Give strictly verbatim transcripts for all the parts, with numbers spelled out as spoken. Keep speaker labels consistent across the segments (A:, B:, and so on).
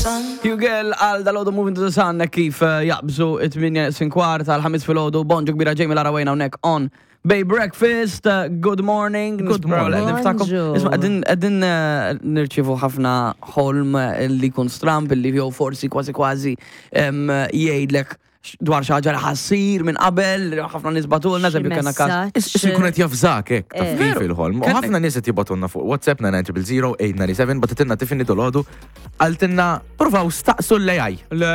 A: Hugel għal dalgħodu, Moving to the Sun, kif eh, jaqbżu it-tmienja neqsin kwart għal ħames filgħodu. Bonġu kbira, Jamie Lara Wayne hawnhekk on Bay Breakfast. uh, Good morning.
B: Good morning.
C: Bonġu.
A: Isma', qegħdin qegħdin eh, nirċievu ħafna ħolm eh, li jkun stramp, li jew forsi kważi kważi em, jgħidlek dwar xi ħaġa li ħa ssir minn qabel, ħafna nies bagħtulna, eżempju kellna każ.
C: Messaġġ.
B: Issa jkun qed javżak hekk, taf
C: Eh.
B: kif, il-ħolm. U
A: Kellek-
B: ħafna nies qed jibagħtulna fuq WhatsApp nine zero zero eight nine seven, bagħtitilna Tiffany dalgħodu, qaltilna provaw staqsu l-A I.
A: Le,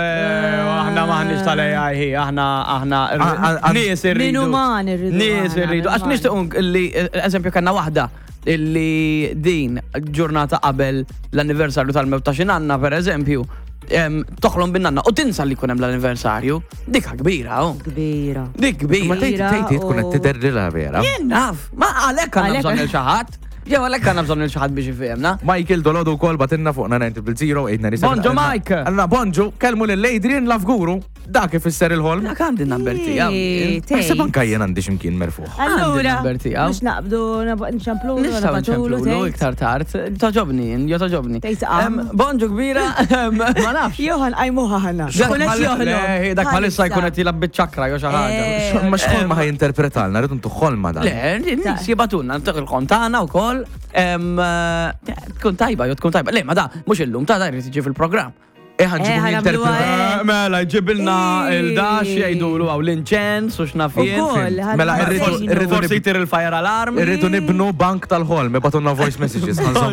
A: aħna maħniex tal-A I, hi, aħna, aħna,
B: A- a-
A: nies irridu.
C: Min uman irridu
A: Nies
C: aħna,
A: irridu.
C: min
A: Għax
C: uman.
A: nixtiequ li, eżempju, kellna waħda illi din ġurnata qabel l-anniversarju tal-mewt ta' xi nanna, per eżempju, em, toħlom bin-nanna u tinsa li jkun hemm l-anniversarju. Dikha kbira, oh.
C: Kbira.
A: Dik kbira.
B: Ma tgħid tgħid tkun qed tidherlilha vera.
A: Jien naf, ma għalhekk għandna
C: Għalhekk-
A: bżonn il xi ħadd. Jew għalhekk għandna bżonn il xi ħadd biex ifehemna.
B: Michael dalgħodu wkoll bagħtilna fuq nine zero zero eight nine seven.
A: Bonġu, Mike.
B: Għalna bonġu, kellmu lil Adrian Lafguru, dak ifisser il-ħolm.
A: Dak għandi n-number tiegħu.
C: Ej,
B: Naħseb
C: tgħid.
B: anka jien għandi x'imkien merfuħ.
C: Allura,
A: Għandi n-number tiegħu.
C: mhux naqbdu nċemplu,
A: Nistgħu
C: nabagħtulu,
A: nċemplulu
C: tgħid.
A: iktar tard. Togħġobni, jo togħġobni.
C: Tgħid qam.
A: Em, Bonġu kbira, em, ma nafx.
C: Johan qajmuha ħana.
A: Dak
C: Kun qed
A: bħal-
C: joħlom.
A: Le, dak bħalissa jkun qed jilgħab biċ-ċakra jew xi ħaġa.
C: Eh.
B: Ma x'ħolma ħa jinterpretalna, rridu ntu ħolma dan.
A: Le, nies jibagħtulna il-ħolm tagħna wkoll. Em, eh, Tkun tajba, jew tkun tajba. Le, ma da, mhux illum ta' da jrid jiġi fil-programm.
B: Eh, ħa nġibu
C: Eh, ħa nagħmluha,
B: jinterpreta.
C: eh.
A: Mela, jġibilna
C: Ej.
A: il-dax jgħidulu għaw l-inċens u x'naf jien.
C: Ukoll, ħa
B: Mela, irridu-
C: nagħmlu.
B: irridu
A: Forsi jtir il-fire alarm.
B: Irridu nibnu bank tal-ħolm, ibagħtulna voice messages, ħa nżommu